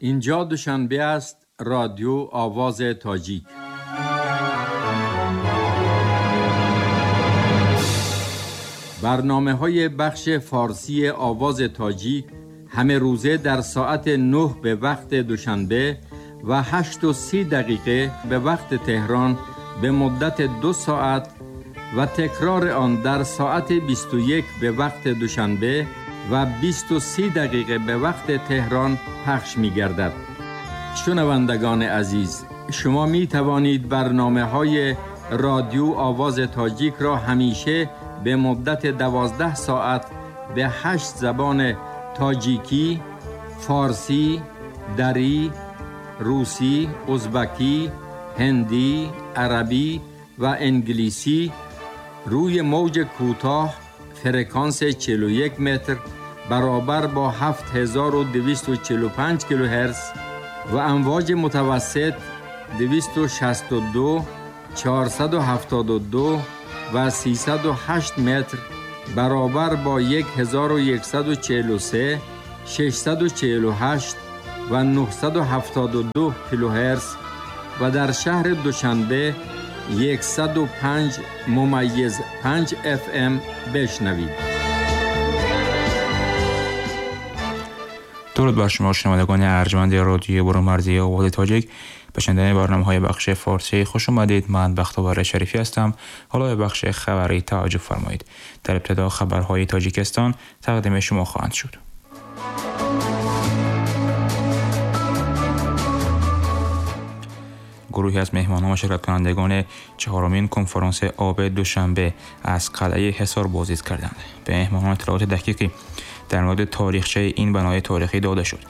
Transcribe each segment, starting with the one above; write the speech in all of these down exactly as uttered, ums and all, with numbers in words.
Инҷо Душанбе аст, Радио Овози Тоҷик. Барномаҳои бахши форсии Овози Тоҷик ҳама рӯза дар соати нӯҳ ба вақти Душанбе ва ҳашт ва си дақиқа ба вақти Теҳрон ба муддати ду соат ва такрори он дар соати бисту як ба вақти Душанбе ва бисту се дақиқа ба вақти Теҳрон пахш мегардад. Шунавандагони азиз, шумо метавонед барномаҳои Радио Овози Тоҷик ро ҳамеша ба муддати дувоздаҳ соат ба ҳашт забони тоҷикӣ, форсӣ, дарӣ, русӣ, узбакӣ, ҳиндӣ, арабӣ ва англисӣ рӯи мавҷи кӯтоҳ фреквенс чил ва як метр баробар бо ҳафт ҳазору дусаду чил ва панҷ килогерц ва амвоҷи мутавассит дусаду шасту ду, чорсаду ҳафтоду ду ва сесаду ҳашт метр баробар бо як ҳазору яксаду чил ва се, шашсаду чил ва ҳашт ва нӯҳсаду ҳафтоду ду килогерц ва дар шаҳри Душанбе яксаду панҷ мумайиз панҷ эф эм бишнавед. Дуруд бар шумо шунавандагони арҷманди радиои Бурумарзии Овози Тоҷик. Ба шунидани барномаҳои бахши форсӣ хуш омадед. Ман Бахтовар Шарифӣ ҳастам. Ҳоло ба бахши хабарӣ таваҷҷӯҳ фармоед. Дар ибтидо хабарҳои Тоҷикистон тақдими шумо хоҳанд шуд. Гурӯҳе аз меҳмонон ва ширкаткунандагони чаҳорумин конференси оби Душанбе аз қалъаи Ҳисор боздид карданд. Ба меҳмонон иттилооти дақиқе дар мавриди таърихчаи ин бинои таърихӣ дода шуд.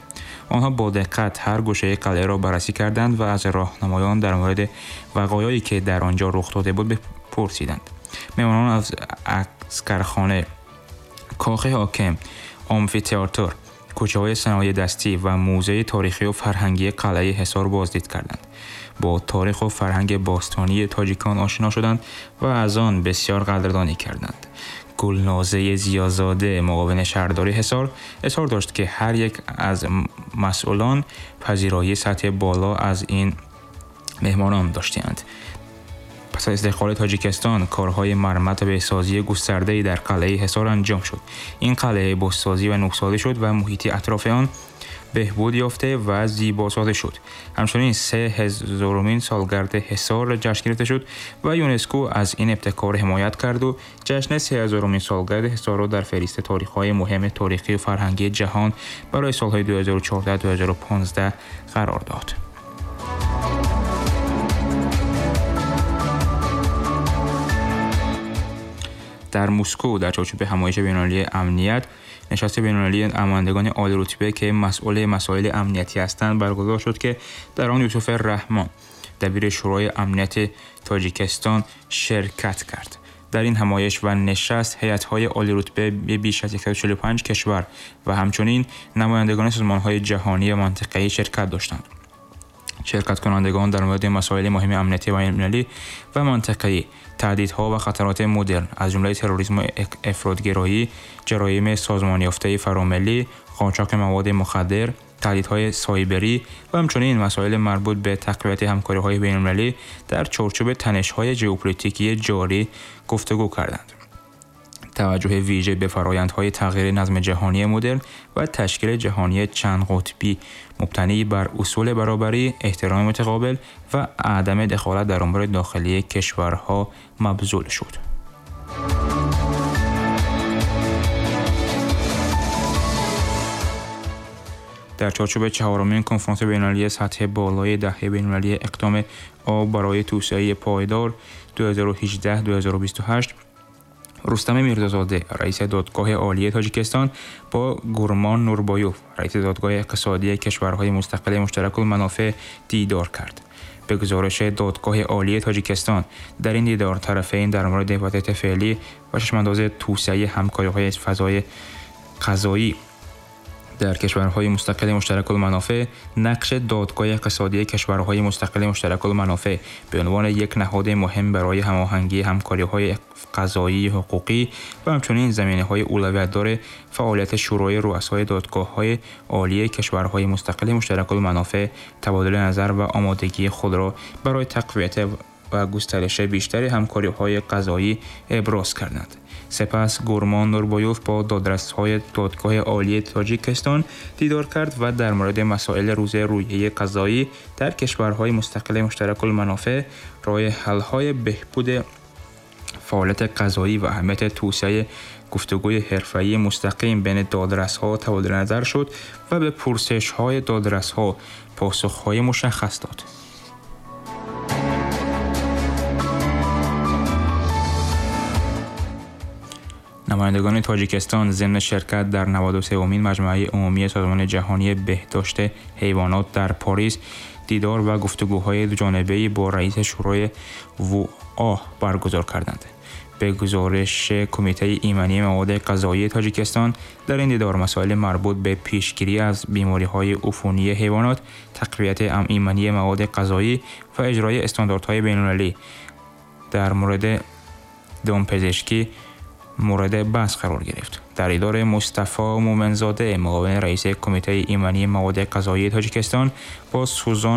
Онҳо бо диққат ҳар гӯшаи қалъаро баррасӣ карданд ва аз роҳнамоён дар мавриди вақоее ки дар он ҷо рух дода буд бипурсиданд. Меҳмонон аз аскархона, кохи ҳоким, амфитеатр, кӯчаҳои саноии дастӣ ва мӯзеи таърихӣ ва фарҳангии қалъаи Ҳисор боздид карданд. Бо таърих ва фарҳанги бостонии тоҷикон ошно шуданд ва аз он бисёр қадрдонӣ карданд. Гулнозаи Зиёзода, муовини шаҳрдори Ҳисор, изҳор дошт ки ҳар як аз масъулон пазироии сатҳи боло аз ин меҳмонон доштанд. Пас аз истиқлоли Тоҷикистон корҳои мармат ва беҳсозии густардае дар қалъаи Ҳисор анҷом шуд. Ин қалъа бозсозӣ ва нӯксозӣ шуд ва муҳити атрофи он беҳбуд ёфта ва зебосозӣ шуд. Ҳамчунин се ҳазорумин солгарди Ҳисор ҷашн гирифта шуд ва ЮНЕСКО аз ин ибтикор ҳимоят кард ва ҷашни се ҳазорумин солгарди Ҳисорро дар феҳристи таърихҳои муҳими таърихӣ ва фарҳангии ҷаҳон барои солҳои ду ҳазору чордаҳ ду ҳазору понздаҳ қарор дод. Дар Москва дар чорчӯби ҳамоиши байналмилалии амният нишасти байналмилалии намояндагони олирутба ки масъули масоили амниятӣ ҳастанд баргузор шуд ки дар он Юсуф Раҳмон, дабири Шӯрои амнияти Тоҷикистон, ширкат кард. Дар ин ҳамоиш ва нишаст ҳайатҳои олирутба беш аз яксаду чилу панҷ кишвар ва ҳамчунин намояндагони созмонҳои ҷаҳонӣ ва минтақавӣ ширкат доштанд. Ширкаткунандагон дар мавриди масоили муҳими амниятӣ ва байналмилалӣ ва минтақавӣ, таҳдидҳо ва хатароти модерн аз ҷумлаи терроризм ва ифротгароӣ, ҷароими созмонёфтаи фаромиллӣ, қочоқи маводи мухаддир, таҳдидҳои сайберӣ ва ҳамчунин масоили марбут ба тақвияти ҳамкориҳои байналмилалӣ дар чорчӯби танишҳои ژئوپلیتیکی ҷорӣ гуфтугӯ карданд. Таваҷҷӯҳи вижа ба фарояндҳои тағйири назми ҷаҳонии модерн ва ташкили ҷаҳонии чандқутбӣ мубтанӣ бар усули баробарӣ, эҳтироми мутақобил ва адами дахолат дар умури дохилии кишварҳо мабзул шуд. Дар чорчӯби чаҳорумин конференси байналмилалии сатҳи болои даҳаи байналмилалии иқдоми об барои توسعه پایدار ду ҳазору ҳаждаҳ ду ҳазору бисту ҳашт Рустам Мирзозода, раиси Додгоҳи Олии Тоҷикистон, бо Гурмон Нурбоюв, раиси Додгоҳи иқтисодии кишварҳои мустақили муштаракулманофеъ дидор кард. Ба гузориши Додгоҳи Олии Тоҷикистон, дар ин дидор тарафайн дар мавриди вазъияти феълӣ ва чашмандози توسعه ҳамкориҳои фазои қазоӣ дар кишварҳои мустақили муштаракулманофеъ, нақши Додгоҳи иқтисодии кишварҳои мустақили муштаракулманофеъ ба унвони як ниҳоди муҳим барои ҳамоҳангии ҳамкориҳои قضایی حقوقی و همچنین زمینه‌های اولویت‌دار فعالیت شورای رؤسای دادگاه‌های عالی کشورهای مستقل مشترک المنافع تبادل نظر و آمادگی خود را برای تقویت و گسترش بیشتر همکاری‌های قضایی ابراز کردند. سپس گرمان نوربایوف با دادرس‌های دادگاه عالی تاجیکستان دیدار کرد و در مورد مسائل روز رویه قضایی در کشورهای مستقل مشترک المنافع، راه حل‌های بهبود فعالیت قضایی و اهمیت توسعه گفتگوی حرفه‌ای مستقیم بین دادرس‌ها تبادل نظر شد و به پرسش‌های دادرس‌ها پاسخ‌های مشخص داد. نمایندگان تاجیکستان ضمن شرکت در نود و سومین مجمع عمومی سازمان جهانی بهداشت حیوانات در پاریس دیدار و گفتگوهای دوجانبه‌ای با رئیس شورای وو آ برگزار کردند. به گزارش کمیته ایمنی مواد غذایی تاجیکستان، در این دیدار مسائل مربوط به پیشگیری از بیماری‌های عفونی حیوانات، تقویت ایمنی مواد غذایی و اجرای استانداردهای بین‌المللی در مورد دامپزشکی مورد بحث قرار گرفت. در دیدار مصطفی مومنزاده، معاون رئیس کمیته ایمنی مواد غذایی تاجیکستان، با سوزان